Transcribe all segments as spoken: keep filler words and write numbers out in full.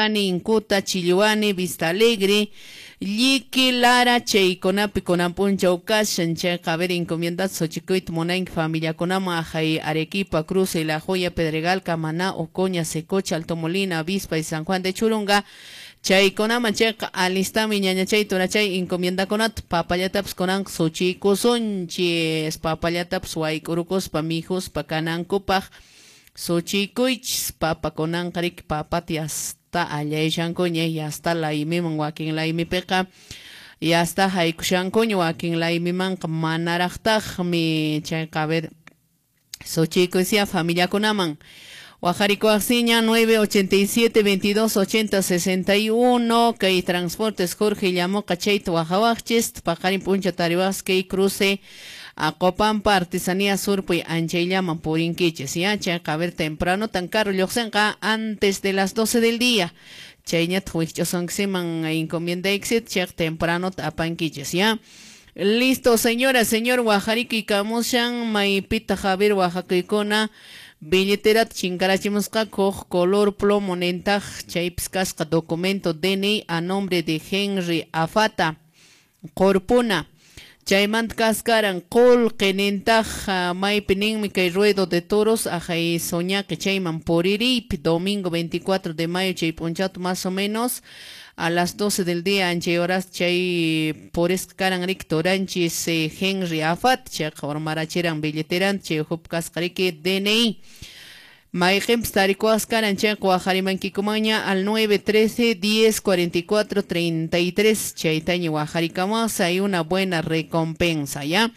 Sillani, Incuta, Chilluani, Vista Alegre, Lliqui, Lara, chaykunapi kunan p'unchaw kashan. Chayqa a ver encomiendat suchikuyta munanki familiakunaman ahay Arequipa, Cruce, La Joya, Pedregal, Camaná, Ocoña, Secocha, Alto Molina, Avispa y San Juan de Churunga. Chaykunaman chayqa alistami ñañachay turachay encomiendakunata papallatapas kunan suchikusunchis, papallatapas wayk'urukuspa mijuspa kanankupaq suchikuychis. Papa kunanqa riki papata yasta allayashankuña, yasta laymiman wakin laymipiqa yasta haykushankuña, wakin laymimanqa manaraqtaqmi. Chayqa a ver suchikuysiya familiakunaman. Wajarikuaqsiña nueve ochenta y siete veintidós ochenta sesenta y uno kay Transportes Jorge Llamoqa chayta wajawaqchis paqarin p'uncha tariwaqs kay cruce Acopampa Artesanía Surpuy anchayllaman purinkichis ya. Chayqa a ver temprano tan caro lluqsinqa antes de las doce del día, chayñataq wikch'usunkiman encomiendaykisit chayqa temprano apankichis ya. Listo, señora, señor, wajarikuy kamushan maypitaq a ver wajakuykuna billeterata chinkarachimusqa huk color plomo nintaq chaypis kasqa documento D N I a nombre de Henry Afata Qorpuna. Chaymanta kaskaran qullqi nintaq maypi ninmi kay ruedo de toros ahay soñaqi chayman puririypi domingo veinticuatro de mayo chay p'unchawta más o menos a las doce del día anchay horas chay purisqa karan riki turanchis eh, Henry Afat chayqa urmarachiran billeteranta chay uhupi kasqa riki D N I. Mayqinpis tarikuwaqs karan chayqa waqarimankikumanña al nueve trece diez cuarenta y cuatro treinta y tres chaytaña waqarikamuwaqs, hay una buena recompensa ya.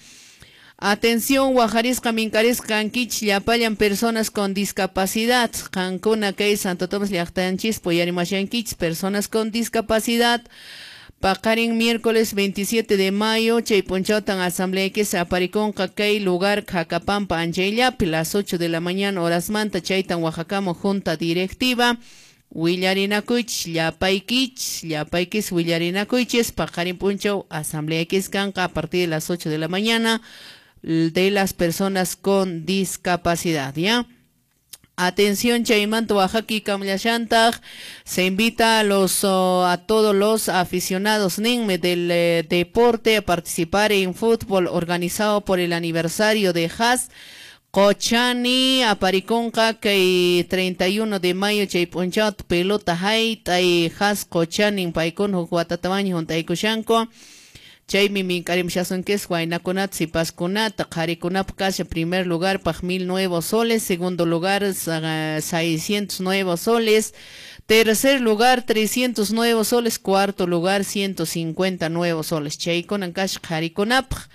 Atención, wajarisqa minkarisqa kankichis llapallan personas con discapacidad. Qankuna kay Santo Tomás llaqtanchis puyarimashankichis personas con discapacidad. Paqarin miércoles veintisiete de mayo, chay p'unchawtan asamblea que se apariconqa kay lugar Jacapampa anchayllapi, las ocho de la mañana horas manta chaytan wajakamu junta directiva. Willarinakuychis llapaykichis, llapaykis willarinakuychis, paqarin p'unchaw asamblea que kanqa a partir de las ocho de la mañana de las personas con discapacidad, ¿ya? Atención, chaymanta Oaxaca kamllashantaq, se invita a los, oh, a todos los aficionados ninme del, eh, deporte a participar en fútbol organizado por el aniversario de Haas Qochani apariconqa kay treinta y uno de mayo chay p'unchawta pelota hayt'ay Haas Qochani paykuna huk watatawanña hunt'aykushanku. Chaymi minkarimshasunkis waynakunata sipaskunata qharikunapaq kasha primer lugar paq mil nuevos soles, segundo lugar seiscientos nuevos soles, tercer lugar trescientos nuevos soles, cuarto lugar ciento cincuenta nuevos soles. Chaykunan kasha qharikunapaq.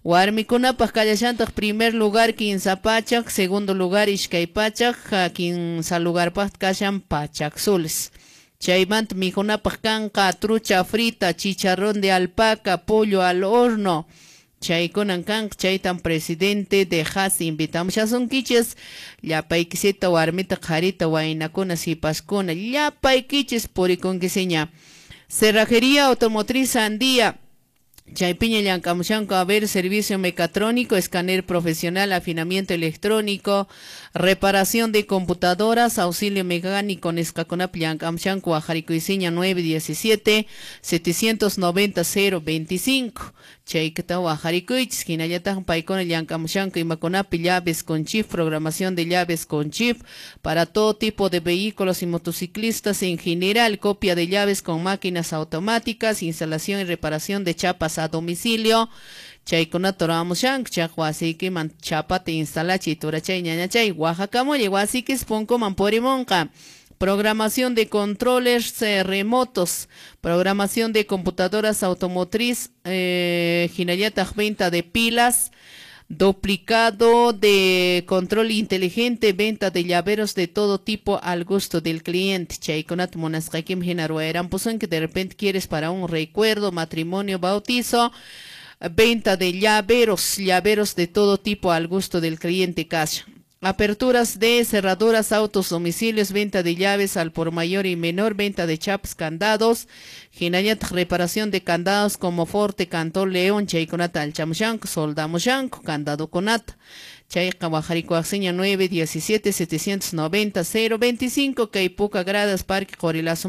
Warmikunapaq kallashantaq primer lugar quince pachak, segundo lugar iskay pachak, quince lugarpaq kashan pachak soles. Chaymanta mijunapaq kanqa trucha frita, chicharrón de alpaca, pollo al horno. Chaykunan kanqa, chaytan presidente de Haas invitamushasunkichis llapaykisita warmita qharita waynakuna sipaskuna llapaykichis purikunkisiña. Cerrajería Automotriz Andía. Chaypiña llank'amushanku a ver servicio mecatrónico, escáner profesional, afinamiento electrónico, reparación de computadoras, auxilio mecánico nisqakunapi llank'amushanku wajarikuysiña nueve diecisiete setecientos noventa cero veinticinco. Chaykata wajarikuychis, hinallataq paykuna llank'amushanku imakunapi llaves con chip, programación de llaves con chip para todo tipo de vehículos y motociclistas en general, copia de llaves con máquinas automáticas, instalación y reparación de chapas a domicilio. Chaykunata ruramushanku, chay wasiykiman chapata instalachiy turachay ñañachay Oaxacamullay wasikis punkuman purimunqa. Programación de controles, eh, remotos, programación de computadoras automotriz, eh, hinallataq venta de pilas, duplicado de control inteligente, venta de llaveros de todo tipo al gusto del cliente. Chaykunata munasqaykim hina ruwayrampusunki, de repente quieres para un recuerdo, matrimonio, bautizo, venta de llaveros, llaveros de todo tipo al gusto del cliente cash. Aperturas de cerraduras, autos, domicilios, venta de llaves al por mayor y menor, venta de chapas, candados, hinallataq reparación de candados como Forte, Cantón, León, chaykunata alchamushanku, soldamushanku, candado kunata. Chayqa wajarikuwaqsiña nueve diecisiete setecientos noventa cero veinticinco, kay Puka Gradas, Parque Qorilazo.